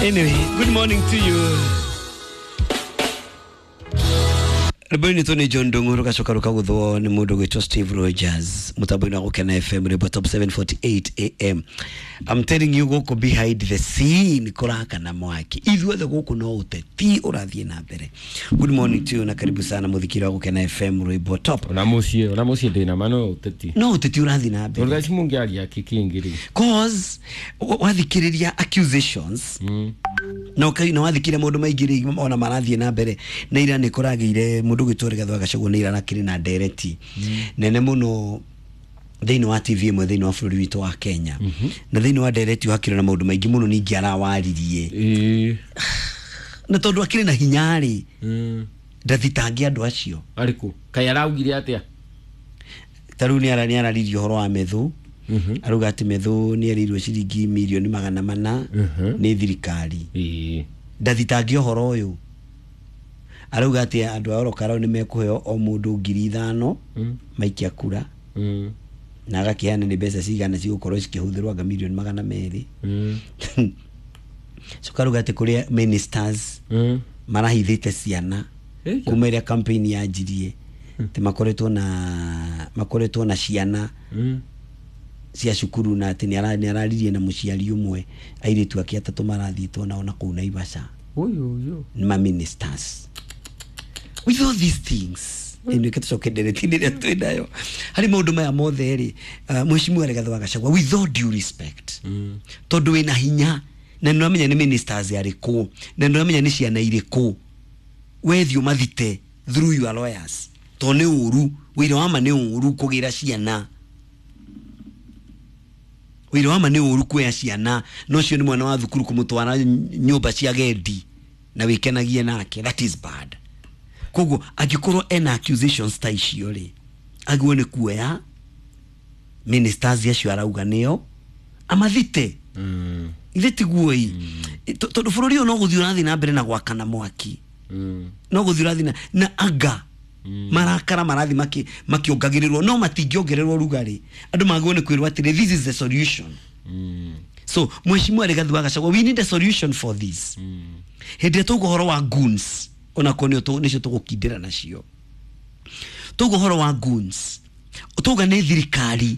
Anyway, good morning to you. Rwĩmbo-inĩ tũ nĩ John Ndung'u rũgacoka rũkaguthwo nĩ mũndũ gwĩtwo Steve Rogers mũtambo-inĩ wa Gũkena FM rwĩmbo Top 748 AM. I'm telling you, gũkũ behind the scene kũrakana mwaki, ithuothe gũkũ no ũteti ũrathiĩ na mbere. Good morning to you na karibu sana mũthikiri wa Gũkena FM rwĩmbo Top. Ona muciĩ ndĩna ma no ũteti. No ũteti ũrathiĩ na mbere. Tondũ thaa ici mũngĩaria kĩkĩngĩ rĩ. Cause wathikĩrĩria accusations na na wathikĩrĩria maũndũ maingĩ rĩ, ona marathiĩ na mbere na ira nĩ kũragĩire mũndũ gwĩtwo Rigathĩ wa Gachagua nĩ ira arakĩrĩ na ndereti nene mũno thĩinĩ wa TV ĩmwe thĩinĩ wa bũrũri witũ wa Kenya, na thĩinĩ wa ndereti hakĩrĩ na maũndũ maingĩ mũno ningĩ arawaririe na tondũ akĩrĩ na hinya rĩ, ndathitange andũ acio. Arĩkũ kaĩ araugire atĩa? Ta rĩu nĩ araririe ũhoro wa Methu, arauga atĩ Methu nĩ erĩirwo ciringi mirioni 400 nĩ thirikari. Ndathitange ũhoro ũyũ, arauga atĩ andũ a Orokarau nĩ mekũheo o mũndũ 5,000 maikia kura, na agakĩheana nĩ mbeca cigana cigũkorwo cikĩhũthĩrwo, anga mirioni 200. Coka arauga atĩ kũrĩa ministers marahithĩte ciana kuma ĩrĩa campaign yanjirie, atĩ makoretwo na ciana cia cukuru, na atĩ nĩ araririe na mũciari ũmwe, airĩtu ake atatũ marathiĩtwo nao na kũu Naivasha. Ũyũ ũyũ. Nĩ ma ministers with all these things. Ĩno tũcoke ndereti-inĩ ĩrĩa twĩ nayo harĩ maũndũ maya mothe rĩ, Mheshimiwa Rigathĩ wa Gachagua, with all due respect, tondũ wĩna hinya na nĩ ũramenya nĩ ministers arĩkũ na nĩ ũramenya nĩ ciana irĩkũ, wethiĩ ũmathite through your lawyers, tondũ nĩ ũru wĩra wa ma, nĩ ũru kũgĩra ciana, wĩra wa ma nĩ ũru kuoya ciana na ũcio nĩ mwana wa thukuru kũmũtwara nyũmba cia gendi na wĩkenagie nake. That is bad. Koguo angĩkorwo ena accusations ta icio rĩ, agĩrĩirwo nĩ kuoya ministers acio arauga nĩo amathite. Ithe tiguo tondũ bũrũri ũyũ no gũthiĩ ũrathiĩ na mbere na gwakana mwaki, no gũthiĩ ũrathiĩ na anga marakara marathiĩ makĩongagĩrĩrwo, no matingĩongererwo rugarĩ. Andũ magĩrĩirwo nĩ kwĩrwo atĩrĩ, this is the solution. So Mheshimiwa Rigathi wa Gachagua, we need a solution for this. Hĩndĩ ĩrĩa tauga ũhoro wa goons, onakorwo nĩcio tũgũkindĩra nacio, tauga ũhoro wa goons, tauga nĩ thirikari,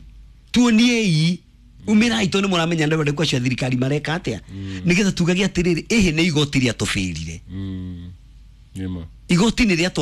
tuoniei umĩrai, tondũ nĩ mũramenya andũ arĩa acio a thirikari mareka atĩa, nĩgetha tugage atĩrĩrĩ, ĩhĩ nĩ igoti rĩatũbĩrire. Nĩma. Igoti nĩ rĩatwa.